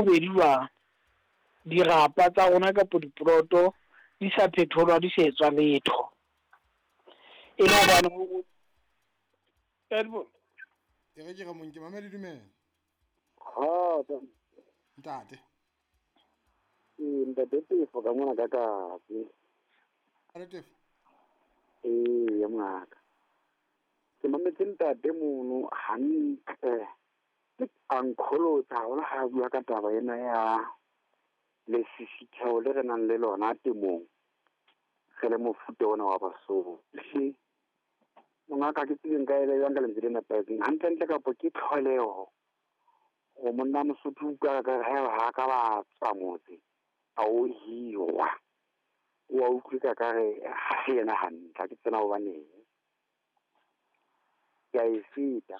bobedi jwang dirapa tsa rona kapo dipoloto di sa phetholwa, di sa etswa letho, e le hobane ho E re ke re mong ke mamele, dumela. Ntate. Ee, ntate Tefo ka mona ka Katse. Ntate Tefo. Ee, mongaka. Ke mametse ntate mono hantle. A nkgolotsa haholo ha a bua ka taba ena ya lesisitheho le re nang le lona temong. Re le mofuta ona wa Basotho. Mongaka ke tsebe nka ele jwang ka lentswe le nepahetseng. Hantlentle kapo ke tlholeho hore monna Mosotho o utlwa ka re ha ka ba tswa motse a o hirwa. O a utlwe ka ka re ha se yena hantle, ha ke tsena hobaneng. Ke a e feta.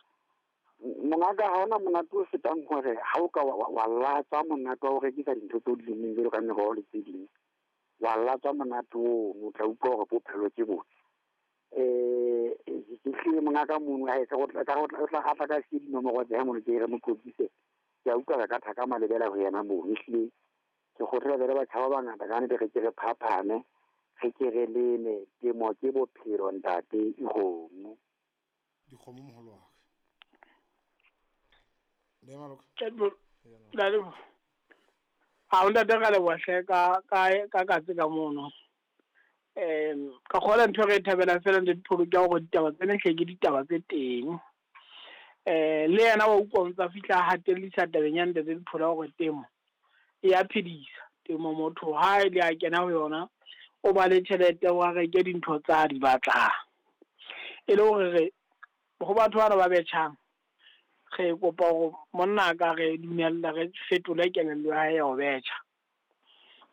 Mongaka ha hona monate o fetang hore ha o ka wa latswa monate wa ho rekisa dintho tseo di lemmeng jwalo ka meroho le tse ding. Wa latswa monate ono, o tla utlwa hore bophelo ke bona. Ke hlile mongaka mono ha e ka o tla a tla ka siye dinomoro tsa hae mono ke re mo qoqise. Ke a utlwa re ka thaka malebela ho yena mono. Ehlile ke kgothaletsa le batjha ba bangata ka nnete re ke re phaphame, re ke re leme. Temo ke bophelo ntate, dikgomo. Dikgomo moholo wa ka. Le maloka. Ha o ntate ka leboha hle ka ka Katse ka mono. Ka kgola ntho e re e thabelang fela ntate Pholo ke ya hore ditaba tsena hle ke ditaba tse teng. Le yena wa utlwa o ntsa fihla a hatellisa tabeng ya ntate Dipholo ya hore temo e ya phedisa. Temo motho ha ile a kena ho yona, o ba le tjhelete wa reke dintho tsa di batlang. E le hore re ho batho bana ba betjhang, re kopa hore monna ka re dumella re fetole kelello ya hae ya ho betjha.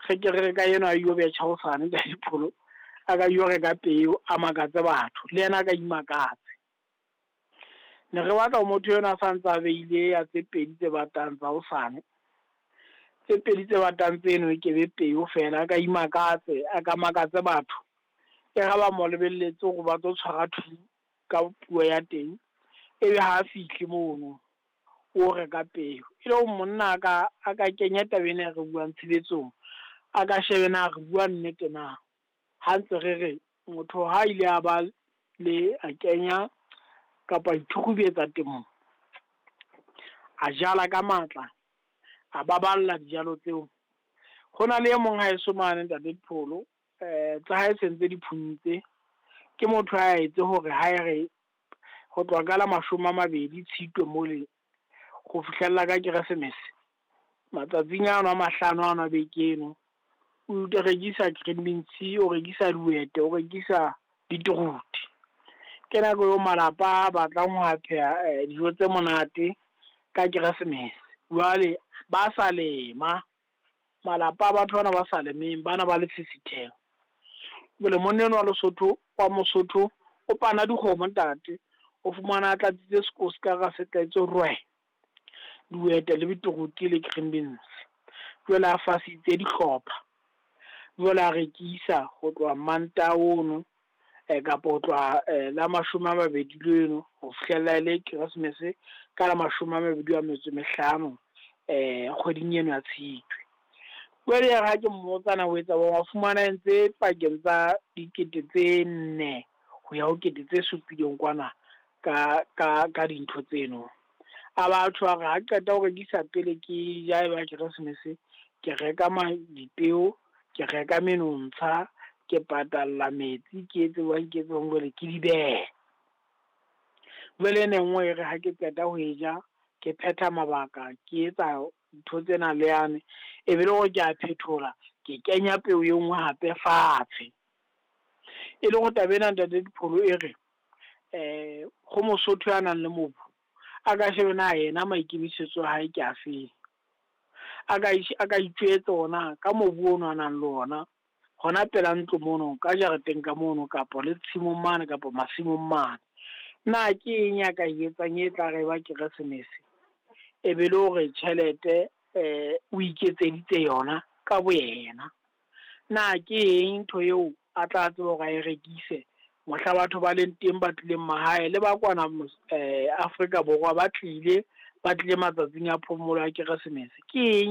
Re ke re ka enwa a yo betjha hosane ntate Dipholo, a ka yo reka peo a makatse batho, le yena a ka imakatse. Ne re batla ho motho enwa a sa ntse a beile ya tse pedi tse batang tsa hosane. Tse pedi tse batang tseno e ke be peo fela, a ka imakatse, a ka makatse batho. E ra ba mo lebelletse hore ba tlo tshwara thu ka puo ya teng, ebe ha a fihle mono o reka peo. E le hore monna a ka kenya taba ena e re buang tshebetsong, a ka shebe na re bua nnete na. Ha ntse re re motho ha ile a ba le a kenya kapa ithukhubetsa temong, a jala ka matla, a baballa dijalo tseo. Ho na le e mong haeso mane ntate Dipholo, tsa hae se ntse di phuntse. Ke motho a etse hore ha e re ho tloha ka la 20 Tshitwe mole ho fihlella ka Keresemese, matsatsing ano a 5 ano a beke eno, o rekisa green beans, o rekisa dihwete, o rekisa beetroot. Ke nako eo malapa a batlang ho pheha dijo tse monate ka Keresemese. Jwale ba sa lema, malapa a batho bana ba sa lemeng, bana ba lesisitheho. Jwale monna enwa wa Lesotho, wa Mosotho, o pana dikgomo ntate, o fumana a tlatsitse sekos ka hara se tletse rwe, dihwete le beetroot le green beans. Jwale a fasitse dihlopha, jwale a rekisa ho tloha Mantaha ono, kapa ho tloha la 20 leno ho fihlella le Keresemese ka la 25 kgweding eno ya Tshitwe. Jwale ya re ha ke mmotsa na o etsa wa fumana ntse pakeng tsa 4 000 ho ya ho 7 000 kwana ka dintho tseno. A batho a re ha qeta ho rekisa pele ke ja eba Keresemese, ke reka dipeo, ke reka menontsha, ke patalla metsi, ke etse jwang, ke etse jwang, jwale ke di behe. Jwale ena e nngwe e re ha ke qeta ho e ja, ke phetha mabaka, ke etsa ntho tsena le yane, e be le hore ke a phethola, ke kenya peo e nngwe hape fatshe. E le hore taba ena ntate Dipholo e re ho Mosotho ya nang le mobu, a ka shebe na yena maikemisetso a hae ke a feng. A ka itjwetsa ona ka mobu ono a nang le ona, hona pela ntlo mono, ka jareteng ka mono, kapa le tshimong mane, kapa masimong mane. Na ke eng ya ka e etsang e tla re ba Keresemese, e be le hore tjhelete o iketseditse yona ka boyena. Na ke eng ntho eo a tla tseba hore a e rekise mohla batho ba leng teng ba tlileng mahae le ba kwana Afrika Borwa ba tlile matsatsing a phomolo ya Keresemese. Ke eng